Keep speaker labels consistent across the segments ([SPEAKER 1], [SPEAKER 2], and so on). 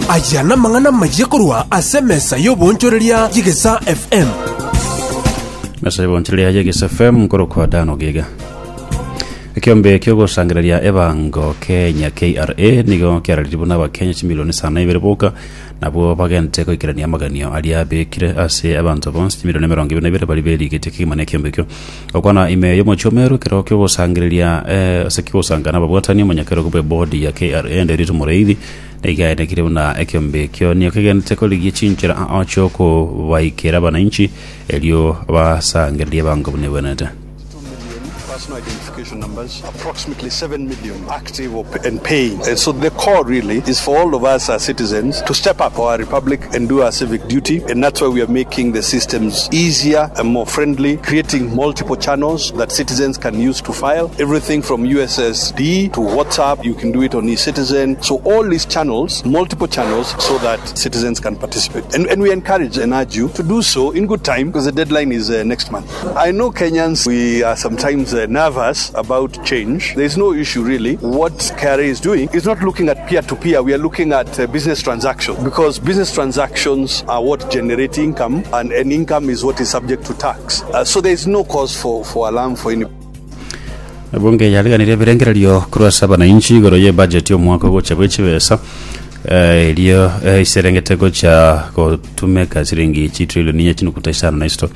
[SPEAKER 1] Aya namang'ana amayia korwa ase emesa y'oboonchoreria y'Egesaa FM.
[SPEAKER 2] Mesa y'oboonchoreria y'Egesaa FM nkorokwa Dan Ogega. Ekiombe kiogosangereria ebango Kenya KRA nigo kiararirie buna abakenya chimilioni isano na ibere boka nabwo bagente goikerania amaganio aria abekire ase abanto bonsi chimilioni emerongo ebere na ibere baria berigetie kegima na ekiombe ekio. Gokwana ime y'omochie o Meru ekero kiogosangereria eh, ase kiogosanga nababwatani omonyakerogo bw'ebodi ya KRA Nderitu Mureithi nigo aenekire buna ekiombe ekio nigo kegenderete korigia chinchera ao chiokobaikera abananchi erio basangererie ebango buna ebwenerete.
[SPEAKER 3] 2 million personal identification numbers, approximately 7 million active or and paying. And so the call really is for all of us as citizens to step up for our republic and do our civic duty. And that's why we are making the systems easier and more friendly, creating multiple channels that citizens can use to file. Everything from USSD to WhatsApp, you can do it on eCitizen. So all these channels, multiple channels, so that citizens can participate. And, and we encourage and urge you to do so in good time because the deadline is uh, next month. I know Kenyans, we are sometimes uh, nervous about change. There is no issue really. What KRA is doing is not looking at peer to peer, we are looking at uh, business transactions because business transactions are what generate income, and, and income is what is subject to tax. Uh, so there is no cause for, for alarm for anybody.
[SPEAKER 2] Ebunge yariganirie ebirengererio korwa ase abananchi igoro y'ebudget y'omwaka ogocha bwe chibesa eh, erio eh, iserengete gocha gotumeka siringi chitrillion inye chinukuta isano na isato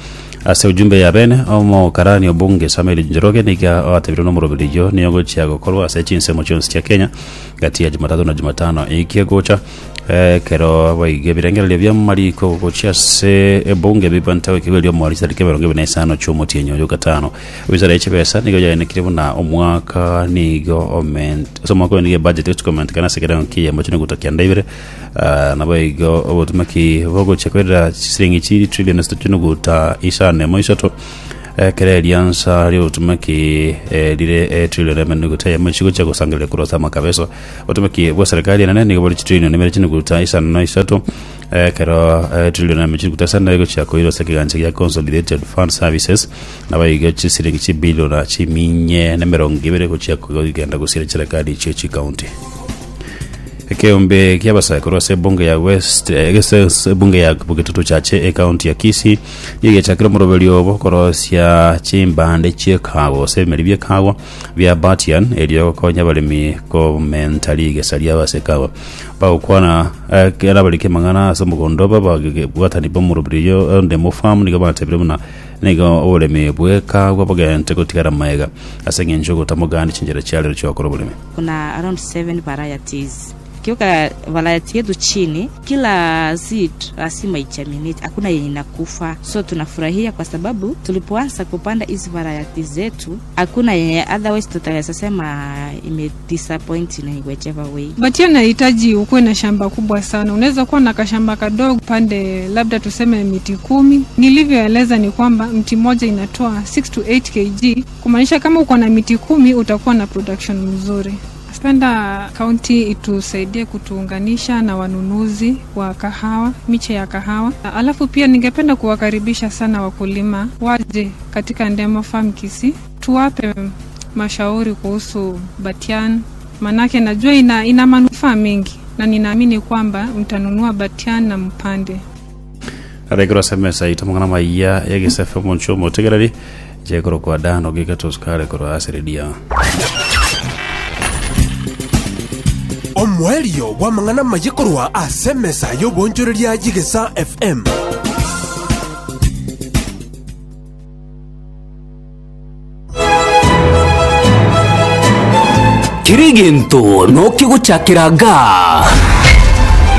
[SPEAKER 2] ase ujumbe ya bene omokarani obunge Samuel Njoroge niga oatebire nomoroberio niyo gochia gokorwa ase chinsemo chionsi chia Kenya gati ya Jumatatu na Jumatano ekia gocha Ekero boigo ebirengererio bi'amariko gochia ase ebunge bibwate goikigwa erio omwaro chitariki emerongo ebere na isano chi'omotienyi oyo gatano. Wizara ye chibesa nigo yaenekire buna omwaka nigo oment ase omwaka oyo nigo ebudget egochia komentekana ase ekerengo ki'eyemo chinuguta kianda ibere ah, naboigo obotumeki bogochia koirera chisiringi chiri trillion isato chinuguta isano emo isato ekero eriansa riobotumeki eh, rire etrillion emo enuguta eyemo chigochia gosangereria korwa ase amakabeso Obotomeki bwa serikali enene nigo bore chitrillion ibere chinuguta isano na isato ekero etrillion emo chinuguta isano egochia koirwa ase ekegancha gia Consolidated Fund Services naboigo chisiringi chibilion chiminye na emerongo ibere gochia kogenda gosiria chiserikali chie chikaunti. Ekeombe ki'abasae korwa ase ebunge ya West eh, ase ebunge ya Bogetutu Chache ekaunti ya Kisii nigo egechakire omoroberio obo korosia chimbande chi'ekago gose ebimeri bi'ekago bia Batian, erio gokonya abaremi komenta rigesa riabo ase ekawa. Bagokwana ekero abariki amang'ana ase omogondo obo ababwatani b'omoroberio onde mofamu nigo batebire buna nigo oboremi bw'ekagwa bogente gotigara magega ase eng'encho y'ogotamogani chinchera chiarero chi'ogokora oboremi.
[SPEAKER 4] Kuna around 7 varieties. Ukiweka variety yetu chini, kila seed lazima igerminate, hakuna yenye inakufa. So tunafurahia kwa sababu tulipoanza kupanda hizi variety zetu hakuna yenye otherwise tutaweza sema ime disappoint in whichever way.
[SPEAKER 5] Batia nahitaji ukuwe na shamba kubwa sana. Unaweza kuwa na kashamba kadogo pande labda tuseme miti kumi. Nilivyoeleza ni kwamba mti mmoja inatoa 6 to 8 kg, kumaanisha kama uko na miti kumi utakuwa na production mzuri. Napenda kaunti itusaidie kutuunganisha na wanunuzi wa kahawa, miche ya kahawa. Alafu pia ningependa kuwakaribisha sana wakulima waje katika Ndemo Farm Kisii, tuwape mashauri kuhusu Batian, manake najua ina, ina manufaa mengi na ninaamini kwamba mtanunua Batian na mpande.
[SPEAKER 2] Arekero ase emesa yaito amang'ana amaya y'egesafe omonche omotegereri jekorokwa Dan Ogika Tosukare korwa ase redio.
[SPEAKER 1] Omoerio bw'amang'ana amaye korwa ase emesa y'oboonchoreria y'Egesaa FM.
[SPEAKER 6] Kera egento nokegochakera gaa.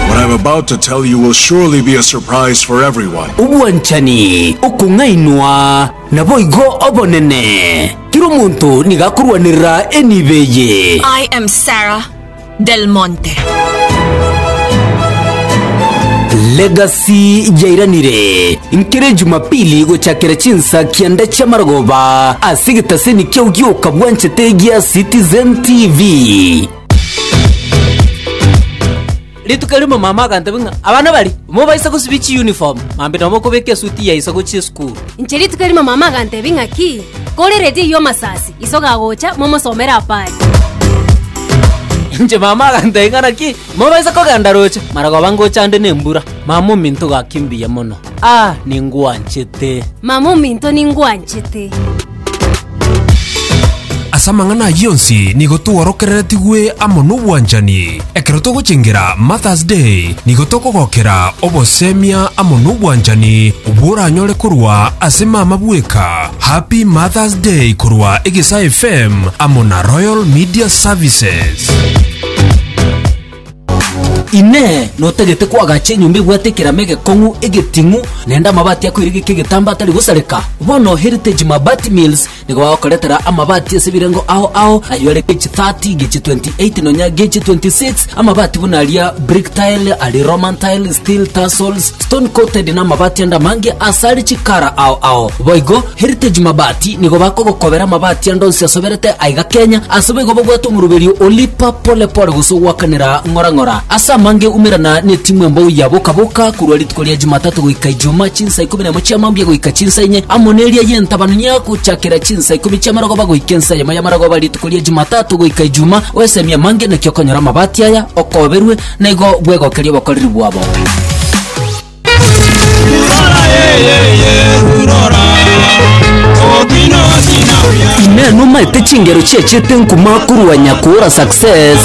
[SPEAKER 7] What I'm about to tell you will surely be a surprise for everyone.
[SPEAKER 6] Obwanchani, okong'ainwa, naboigo obonene. Kera omonto nigo akorwanerera enibo eye.
[SPEAKER 8] I am Sarah Del Monte.
[SPEAKER 6] Legacy yairanire nkere Jumapili gochakera chinsa kianda chi'amarogoba ase egetaseni kiao gioka bwanchete gia Citizen TV.
[SPEAKER 9] Rituko erimo mama agantebia ng'a abana baria mobaisa gosibia chiuniform, mambia nabo mokobeka esuti ya iso gochia esukuru.
[SPEAKER 10] Inche rituko erimo mama agantebia ng'aki, kore eredio eyio amasasi, iso gagocha momosomere apari.
[SPEAKER 9] Inche mama agantebia ng'a naki, mobaisa kogenda roche, maragoba ngocha ande nembura. Mama ominto gaki mbuya mono, ah ningwanchete.
[SPEAKER 10] Mama ominto ningwanchete.
[SPEAKER 1] Ase amang'ana ayio onsi nigo tworokereretigwe amo nobwanchani. Ekero togochengera Mother's Day, nigo tokogokera obosemia amo nobwanchani obwo oranyore korwa ase mama bweka. Happy Mother's Day korwa Egesaa FM amo na Royal Media Services.
[SPEAKER 6] Inee! Notagete koagacha enyomba ebwate ekerama egekong'u, egeting'u, naende amabati akoirigeka egetambe atari gosareka? Bono Heritage Mabati Mills nigo bagokoretera amabati ase ebirengo ao ao, ayio are gauge 30, gauge 28, nonya gauge 26, amabati buna aria brick tile, aria Roman tile, steel tassels, stone coated na amabati ande amange asare chikara ao ao. Boigo Heritage Mabati nigo bakogokobera amabati ande onsi asoberete aiga Kenya, ase boigo babwate omoroberio o lipa pole pole gose ogoakanera ng'ora ng'ora. Ase amange umerana netimu embou ya boka boka korwa rituko ria Jumatatu goika Ijuma chinsa ikomi nemo chia mambia goika chinsa inye, amo neria y'entabanunia gochakera chinsa ikomi chi'amarogoba goika ensa eyemo y'amarogoba rituko ria Jumatatu goika Ijuma, oesemie amange naki okonyora amabati aya okoberwe, na igo bwegokerie obokoreri bwabo. Inee nomaete chingero chiachete nkuma korwa Nyakora Success?